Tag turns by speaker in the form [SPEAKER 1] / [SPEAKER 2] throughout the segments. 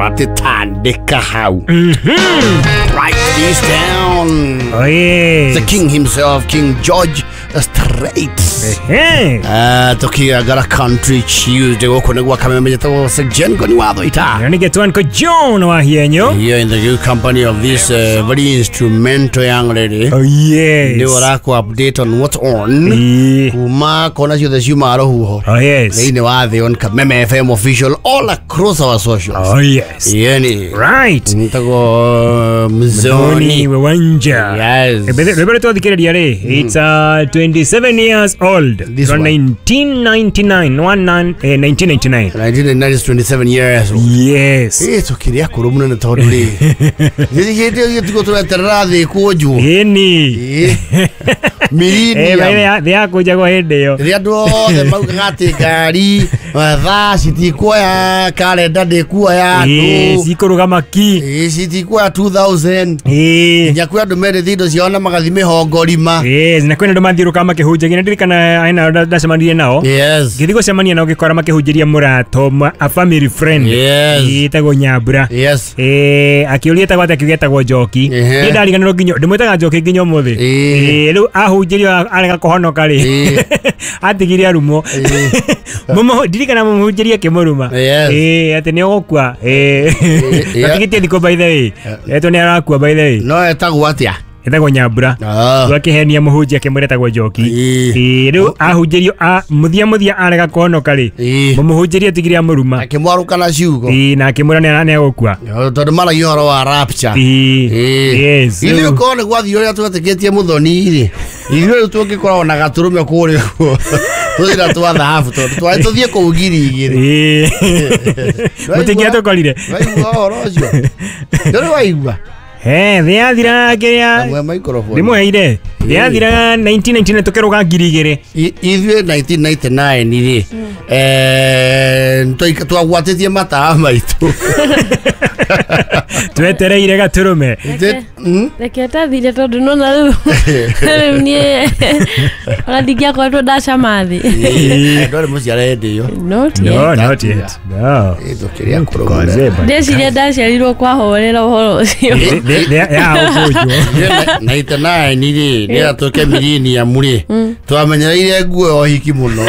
[SPEAKER 1] Atĩ tandĩka hau. Write this down.
[SPEAKER 2] Oh, yes.
[SPEAKER 1] The king himself, King George Strait.
[SPEAKER 2] Ehe.
[SPEAKER 1] Tukiagara Country Tuesday gũkũ nĩ gwa Kameme njĩtagwo Sir Jen Ngoni wa Thũita.
[SPEAKER 2] Na nĩ getwan ko John wa Hienyo.
[SPEAKER 1] Here in the good company of this very instrumental young lady.
[SPEAKER 2] Oh, yes.
[SPEAKER 1] Nĩ ũrakũ update on what's on.
[SPEAKER 2] Ĩĩ.
[SPEAKER 1] Kuma kona ciothe ciumaga rũhuho.
[SPEAKER 2] Oh, yes.
[SPEAKER 1] Thĩinĩ wa thĩ on Kameme FM official all across our socials.
[SPEAKER 2] Oh, yes.
[SPEAKER 1] Yeni.
[SPEAKER 2] Right.
[SPEAKER 1] Nĩtagwo
[SPEAKER 2] Mzoni
[SPEAKER 1] Mzoni.
[SPEAKER 2] Wewanja.
[SPEAKER 1] Yes.
[SPEAKER 2] Rwĩmbo rũrũ twathikĩrĩria rĩ, it's 27 years old.
[SPEAKER 1] This
[SPEAKER 2] From
[SPEAKER 1] one.
[SPEAKER 2] 1999, 1999.
[SPEAKER 1] 1999 is 27 years old.
[SPEAKER 2] Yes.
[SPEAKER 1] Ĩ tũkĩrĩ akũrũ mũno nĩ tondũ rĩ hĩndĩ ĩyo tiguo tũreterera thĩ kũnjwo.
[SPEAKER 2] Ĩni.
[SPEAKER 1] Ĩ. Millennium.
[SPEAKER 2] Thĩ yakũnjagwo hĩndĩ ĩyo.
[SPEAKER 1] Rĩrĩa andũ othe maugaga atĩ ngari thaa citikuoya karenda ndĩkuoya
[SPEAKER 2] Ĩĩ,
[SPEAKER 1] andũ
[SPEAKER 2] cikũrũgama ki.
[SPEAKER 1] Ĩ, citikuoya 2000
[SPEAKER 2] Ĩĩ.
[SPEAKER 1] nginya kwĩ andũ mendete indo ciao na magathi mĩhongo rima.
[SPEAKER 2] Yes, na kwĩna andũ mathiũrũrũkaga makĩhunjagia na ndirikana aina ndacemanirie nao.
[SPEAKER 1] Yes.
[SPEAKER 2] Ngĩthiĩ gũcemania nao ngĩkora makĩhunjĩria mũrata ũmwe, a family friend.
[SPEAKER 1] Yes.
[SPEAKER 2] Ĩtagwo Nyambura.
[SPEAKER 1] Yes.
[SPEAKER 2] Akĩũria etagwo atĩa, akiuga etagwo Njoki.
[SPEAKER 1] Ehe.
[SPEAKER 2] Niĩ ndariganĩrwo nginya ndĩmwĩtaga Njoki nginya ũmũthĩ.
[SPEAKER 1] Ĩĩ.
[SPEAKER 2] Rĩu ahunjĩrio arega kũhonoka rĩ.
[SPEAKER 1] Ĩĩ.
[SPEAKER 2] Atigire arumwo. Ndirikana mũmũhunjĩrie akĩmũruma.
[SPEAKER 1] Yes.
[SPEAKER 2] Atĩ nĩ ũgũkua.
[SPEAKER 1] Yeah.
[SPEAKER 2] Atigĩtie thikũ by the way. Etwo nĩ arakua by the way.
[SPEAKER 1] No etagwo atĩa?
[SPEAKER 2] Etagwo Nyambura.
[SPEAKER 1] Ah.
[SPEAKER 2] Rĩu akĩhenia mũhunjia akĩmwĩra etagwo Njoki.
[SPEAKER 1] Ĩĩ.
[SPEAKER 2] Ĩĩ, rĩu ahunjĩrio mũthia mũthia arega kũhonoka rĩ.
[SPEAKER 1] Ĩĩ.
[SPEAKER 2] Mũmũhunjĩrie atigire amũruma.
[SPEAKER 1] Akĩmwarũka na ciugo.
[SPEAKER 2] Ĩĩ, na akĩmwĩra nĩ egũkua.
[SPEAKER 1] Tondũ maragia ũhoro wa rapture.
[SPEAKER 2] Ĩĩ.
[SPEAKER 1] Ĩĩ.
[SPEAKER 2] Yes.
[SPEAKER 1] Ithuĩ korwo nĩ gwathiĩ ũrĩa twetĩkĩtie mũthoni rĩ, ithuĩ rĩu tũngĩkoragwo na gatũrũme kũrĩa ũguo tũthira twa thahabu tondũ twarĩ tũthiĩ kũu 2000.
[SPEAKER 2] Ĩĩ. Mũtingĩatũkorire.
[SPEAKER 1] Waigua ũhoro ũcio? Ndũrĩ waigua?
[SPEAKER 2] He, thĩ yathira kĩrĩa
[SPEAKER 1] Amwe microphone.
[SPEAKER 2] ndĩmũheire. Thĩ yathira 1999 tũkĩrũga 2000.
[SPEAKER 1] Ithuĩ 1999 rĩ, twagwatĩtie matawa maitũ.
[SPEAKER 2] Twetereire gatũrũme.
[SPEAKER 3] Reke tathire tondũ nona rĩu rĩu niĩ ona ndingĩakoretwo ndacama thĩ.
[SPEAKER 1] Ndwarĩ mũciare hĩndĩ ĩyo.
[SPEAKER 3] Not yet.
[SPEAKER 2] No, not yet. No.
[SPEAKER 1] Ĩ, tũkĩrĩ akũrũ mũno.
[SPEAKER 2] Kozeba.
[SPEAKER 3] Ndeciria ndaciarirwo kwahorera ũhoro ũcio.
[SPEAKER 2] Ya ũkũnjwo.
[SPEAKER 1] 99 rĩ, nĩgetha tũke millennium rĩ, twamenyereire nguo ya ũhiki mũno.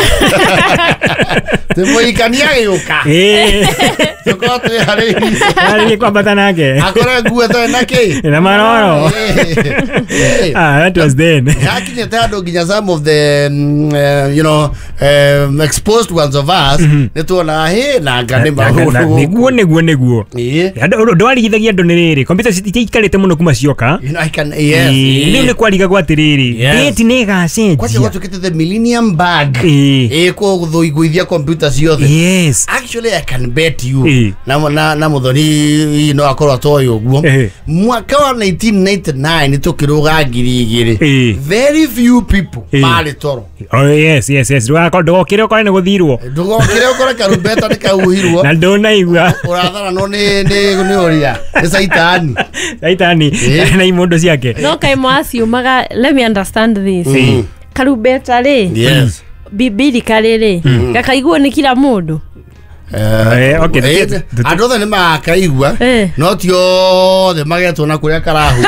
[SPEAKER 1] Tũmũhikania agĩũka.
[SPEAKER 2] Ĩĩ.
[SPEAKER 1] Tũkorwo twĩharĩirie.
[SPEAKER 2] Arĩrie kwambata nake.
[SPEAKER 1] Akore nguo ĩtarĩ na kĩ?
[SPEAKER 2] Na maroro.
[SPEAKER 1] Ĩ.
[SPEAKER 2] Ah, that was then.
[SPEAKER 1] Yakinyĩte andũ nginya some of the you know, exposed ones of us nĩ tuonaga hĩ na anga nĩ maũndũ
[SPEAKER 2] Nĩguo nĩguo nĩguo.
[SPEAKER 1] Ĩ.
[SPEAKER 2] Ũndũ warigithagia andũ nĩ rĩrĩ, kompiuta citiaikarĩte mũno kuma cioka.
[SPEAKER 1] You know, I can, yes.
[SPEAKER 2] Ĩĩ, rĩu nĩ kwarigagwo atĩrĩrĩ,
[SPEAKER 1] Yes.
[SPEAKER 2] date nĩ
[SPEAKER 1] Kwacha
[SPEAKER 2] ĩgacenjia.
[SPEAKER 1] gwatuĩkĩte the millennium bag.
[SPEAKER 2] Ĩĩ.
[SPEAKER 1] Ĩ kũgũithia kompiuta ciothe.
[SPEAKER 2] Yes.
[SPEAKER 1] Actually, I can bet you.
[SPEAKER 2] Ĩ.
[SPEAKER 1] Na mũthoni no akorwo atoĩ ũguo.
[SPEAKER 2] Ĩ.
[SPEAKER 1] Mwaka wa 1999 tũkĩrũga 2000.
[SPEAKER 2] Ĩ.
[SPEAKER 1] Very few people
[SPEAKER 2] Ĩ.
[SPEAKER 1] marĩ toro.
[SPEAKER 2] Oh, yes, yes, yes. Ndũgokĩre ũkore nĩ gũthirwo.
[SPEAKER 1] Ndũgokĩre ũkore karumbeta nĩ kauhirwo.
[SPEAKER 2] Na ndũnaigua.
[SPEAKER 1] Ũratharanwo nĩ ũrĩa nĩ caitani.
[SPEAKER 2] Caitani
[SPEAKER 1] Ĩ.
[SPEAKER 2] na imũndũ ciake.
[SPEAKER 3] No kaĩ mwaciumaga, let me understand this. Karumbeta rĩ,
[SPEAKER 1] Yes.
[SPEAKER 3] bibirika rĩrĩ, gakaiguo nĩ kila mũndũ.
[SPEAKER 2] Okay,
[SPEAKER 1] Andũ othe nĩ makaigua no ti othe magetwo na kũrĩa karahuhu.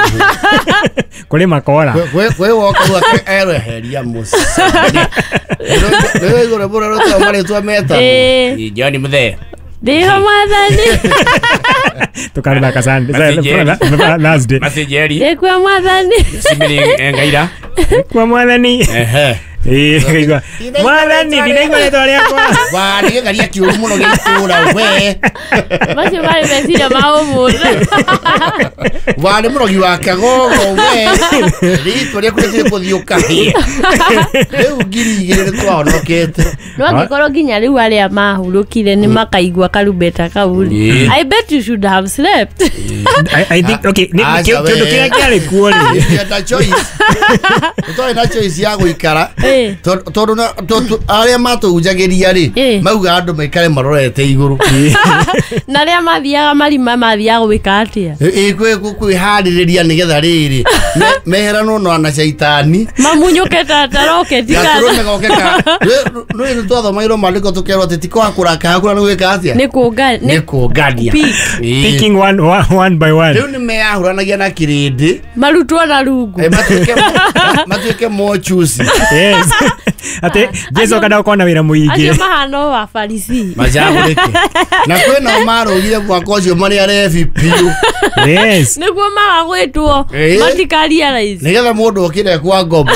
[SPEAKER 2] Kũrĩ makora.
[SPEAKER 1] Kwĩ woka rĩu ereheria mũciĩ. Nĩ igũrũ mũno rũteo marĩtwa metagwo.
[SPEAKER 3] Ĩ.
[SPEAKER 1] John Muthee.
[SPEAKER 3] Ndĩho mwathani.
[SPEAKER 2] Tũkarũthaka Sunday.
[SPEAKER 4] Masijeri.
[SPEAKER 2] Thursday.
[SPEAKER 4] Masijeri.
[SPEAKER 3] Ndĩkua mwathani.
[SPEAKER 4] Simili Ngaira.
[SPEAKER 2] Kwa mwathani.
[SPEAKER 1] Ehe.
[SPEAKER 2] Ĩĩ, ngaigua. Mwathani, ndinaigua rĩtwa rĩakwa.
[SPEAKER 1] Warĩ gĩtharia kĩũru mũno gĩa itũũra we.
[SPEAKER 3] Macio marĩ meciria ma ũmũthĩ.
[SPEAKER 1] Warĩ mũrogi wa kagogo we. Rĩtwa rĩaku rĩtirĩ kũthiĩ ũkahĩe. Rĩu 2000 nĩ twahonokete.
[SPEAKER 3] No angĩkorwo nginya rĩu arĩa mahurũkire nĩ makaigua karumbeta kau rĩ.
[SPEAKER 1] Ĩ.
[SPEAKER 3] I bet you should have slept.
[SPEAKER 2] I think, okay,
[SPEAKER 1] Aca
[SPEAKER 2] kĩũndũ
[SPEAKER 1] we.
[SPEAKER 2] kĩrĩa kĩarĩ kuo rĩ.
[SPEAKER 1] Nĩ na choice. Tũtarĩ na choice ya gũikara. Tondũ arĩa matũhunjagĩria rĩ, mauga andũ maikare marorete igũrũ.
[SPEAKER 3] Na arĩa mathiaga marima mathiaga gwĩka atĩa?
[SPEAKER 1] Kwĩharĩrĩria nĩgetha rĩrĩ meheranwo na caitani.
[SPEAKER 3] Mamunyũke ta roketi kana
[SPEAKER 1] Gatũrũme goke ka nĩ nĩ twathomairwo maandĩko tũkerwo atĩ ti kwaga kũrakara, kũra nĩ gwĩka atĩa?
[SPEAKER 3] Nĩ kũnga.
[SPEAKER 1] Nĩ kũngania.
[SPEAKER 3] Pick.
[SPEAKER 2] Picking one, one, one by one.
[SPEAKER 1] Rĩu nĩ meyahũranagia na kĩrĩndĩ.
[SPEAKER 3] Marutwo na rungu.
[SPEAKER 1] Matuĩke mochusi.
[SPEAKER 2] Yes. Atĩ Jesu akenda gũkorwo na wĩra mũingĩ.
[SPEAKER 3] Acio mahana o abaricii.
[SPEAKER 1] Macagũrĩke na kwĩnao marũgire mwaka ũcio marĩ arebi biũ.
[SPEAKER 2] Yes.
[SPEAKER 3] Nĩguo maga gwĩtwo matikarealize.
[SPEAKER 1] Nĩgetha mũndũ okire kwa ngombo.